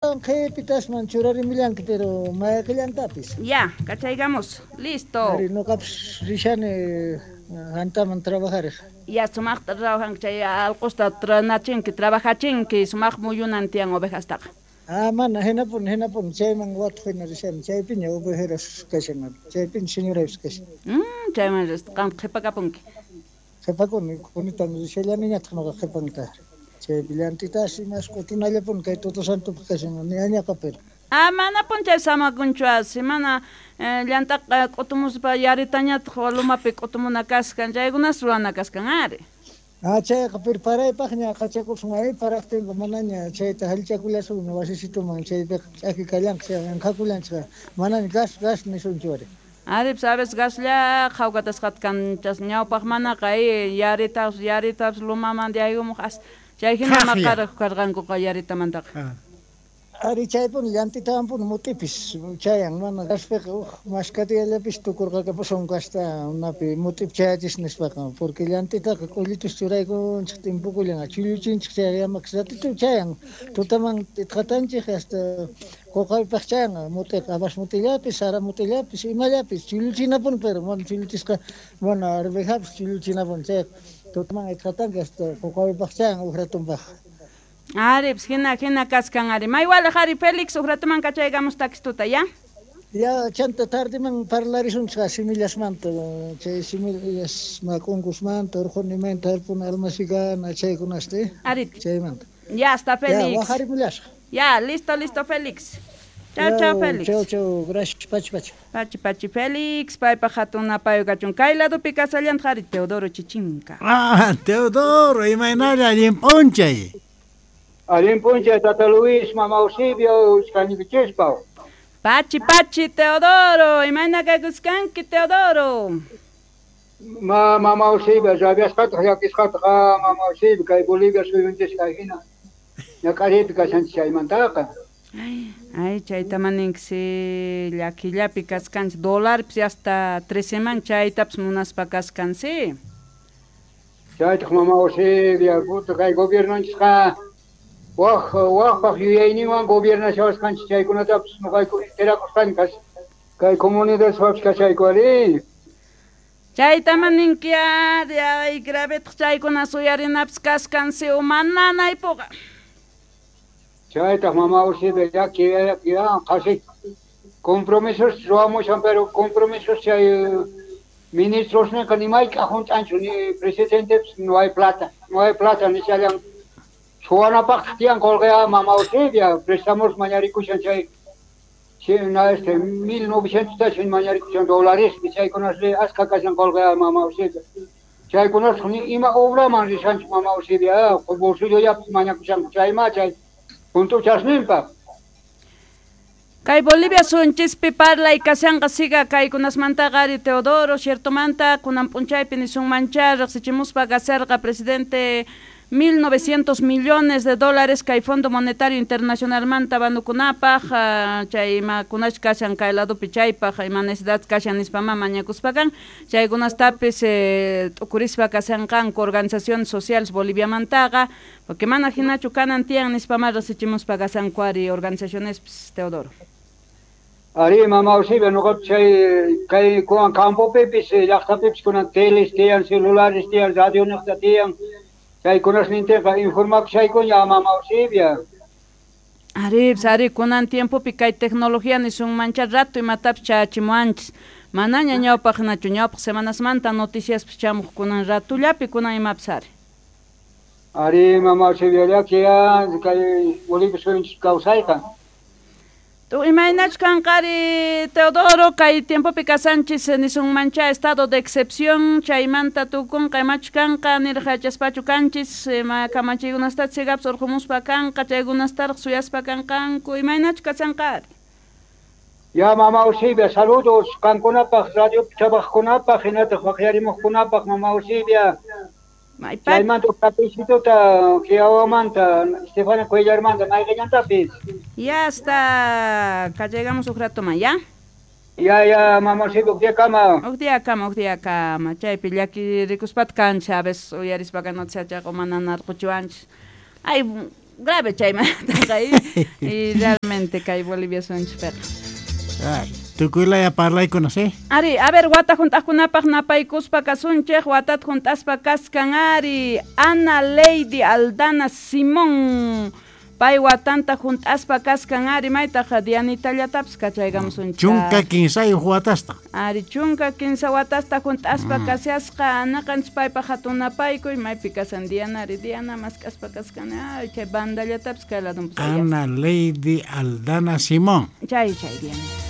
Astawan qhipitasman churarimullanki, pero mayqillantapis. Ya, kachaykamus. Listo. Ari, noqapis rishani hantaman trabajarej. Ya, sumaqta trabajanki chay alqusta tranachinki, trabajachinki, sumaq muyunan tiyan ovejastaqa. Ah, mana, hinapuni, hinapuni, chayman watuq hina rishani, chaypiña ovejeras kashan, chaypiña señoraypis kashan. Chayman risqa, qam qhipakapunki. Qhipakuni, kunitan rishallaniñataq noqa qhipanta. Chaypi llantitas imas q'utunallapuni kay Toto Santopaq kashan, ni añaqa pero. Ah, manapuni chay samakunchu asi, mana llantaqa q'utumuspa yaritañataq lumapi q'utumuna kaskan, chaykunas ruwana kaskan ari. Ah, chayqa pero paraypaqña qachakusun ay paraqtinqa manaña chayta jallchakullasunña wasisituman chaypiqa ch'aki kallanqa chayqa anqhakullanchik manaña gas gas nisunchu ari. Ari, sabes gaslla qhawkatasqata kanchas ñawpaq manaqa ay yaritapas yaritapas lumaman yaykumuq as chay hina maqaraq karqankuqa yaritamantaqa. Ari chaypuni llantitawanpuni mut'ipis chayan mana gaspiqa uj maskatillapis tukurqakapusun gasta unapi mut'ipi chayachis nispaqa porque llantitaqa k'ullitus churaykunchik timpukullan chulluchinchik chay yamakas ratito chayan tutaman itqatanchik hasta qoqaypaq chayan mut'iqa habas mut'illapis sara mut'illapis imallapis chulluchinapuni pero mana chulluchisqa mana arvejapis chulluchinapuni chayqa tutaman itqatanki hasta qoqaypaq chayan uj ratunpaq. Ari, pues hina hina kaskan ari. Maywalej ari Félix uj ratuman kachaykamus takistuta, ya? Ya, chanta tardeman parlarisunchik semillasmanta, chay semillas mak'unkusmanta, urqunimanta, harpuna almasigana chaykunasta, Ari. Chaymanta. Ya, hasta Félix. Ya, waqarimullasqa. Ya, listo, listo Félix. Chau, chau, Félix. Chau, chau, gracias, pachi, pachi. Pachi, pachi, Félix, paypaq hatun napayu kachun. Kay ladopi kasallantaq ari Teodoro Chichinka. Ah, Teodoro, imaynalla allin p'unchay. Allin p'unchay, Tata Luis, Mama Eusebio, uchkañikichispa. Pachi, pachi, Teodoro, imayna kaykuskanki, Teodoro. Ma, Mama Eusebio, rabiasqataq, llakisqataq, ah, Mama Eusebio, kay Bolivia suyunchis kay hina. Ñak'ariypi kashanchis chaymantaqa. Ay, ay, chayta maninki, llakillapi kaskanchis, dólarpis hasta 13 man chaytapas munaspa kaskansi. Chaytaq, Mama Eusebio, puta, kay gobiernonchisqa waj wajpaq yuyayninwan gobiernashawasqanchis chaykunatapis noqayku enterakusqani kas kay comunidadpapis kashayku ari. Chayta maninki ari, ay, gravetaq chaykuna suyarinapis kaskansi uma nanaypuqa. Chaytaq, Mama Eusebio, llaki, llaki, qhasi compromisos ruwamushan, pero compromisos chay ministrosninqa ni mayk'aq hunt'anchu, ni presidentepis no hay plata, no hay plata nishallan. Suwanapaqtaq tiyan qolqeqa Mama Eusebia, préstamos mañarikushan chay, na, este, 1900 tashin mañarikushan dólares, chaykunasri askha kashan qolqeqa Mama Eusebia. Chaykunasqa ni ima obraman rishanchu Mama Eusebia, bolsillollapis mañakushanku chayma chay juntuchasninpaq. Kay Bolivia sunchispi parlay kashanqa siga kaykunasmantaqa ari Teodoro, ciertomanta kunan p'unchaypi nisunmancha riqsichimuspa kasharqa presidente 1.900 millones de dólares kay Fondo Monetario Internacionalmanta banukunapaq, chay imakunash kashan kay ladopi chaypaq, ima necesidad kashan nispa ma mañakuspakan, chaykunastapis t'ukurispa kashanqanku organizaciones sociales Boliviamantaqa, porque mana hinachu kanan tiyan nispa ma riqsichimuspa kashanku ari organizaciones Teodoro. Ari, Mama Eusebia, noqapi chay kay kunan campopipis, llaqtapipis kunan teles tiyan, celulares tiyan, radio niqta tiyan, chaykunasnintinqa informakushaykuña Mama Eusebia. Ari, pues, ari, kunan tiempopi kay tecnología nisunmancha rato imatapis chayachimuanchis. Manaña ñawpaq hinachu, ñawpaq semanasmanta noticiaspis chamuq kunan ratullapi kunan imapis ari. Ari, Mama Eusebia, llaki, ya, kay Bolivia suyunchis kawsayqa. Tu imaynachu kanqa ari Teodoro, kay tiempopi kasanchis nisunmancha estado de excepción chaymanta tukunqa imachu kanqa niraq yachaspachu kanchis, ima kamachiykunasta chigapis urqumuspa kanqa chaykunastaraq suyaspa kanqanku imaynachu kasanqa ari. Ya, Mama Eusebia, saludos qankunapaq, radio trabajkunapaq, hinataq waqyarimuqkunapaq, Mama Eusebia. Maypa. Chaymanta kapishituta Kiawamanta, Estefania Cuellarmanta, mayqillantapis. Ya hasta acá llegamos un rato más, ¿ya? Ya, ya, Mama Eusebia, uq día kama. Uq día kama, uq día kama. Chaypi llaki rikuspat kancha, a veces uyarispa noche chaqa mana narquchiwanchis. Ay, grave chaymantaqa, y realmente Exactamente, kay Bolivia suyunchikpiqa. Ay, tukuylaya parlaykuna, sí? Ari, a ver, wata junt'aqkunapaq napaykuspa kasunchik, watat junt'aspa kaskan ari, Ana Lady Aldana Simón, pay watanta junt'aspa kaskan ari, maytaq Dianitallatapis kachaykamusunchik. 13 watasta. Ari, 13 watasta junt'aspa kashasqa, naqanchis paypaq hatun napaykuy, maypi kasan Diana, ari, Diana mask'aspa kaskan, ay, chay bandallatapis kay ladunpis Ana Lady Aldana Simón. Chay, chay, Diana.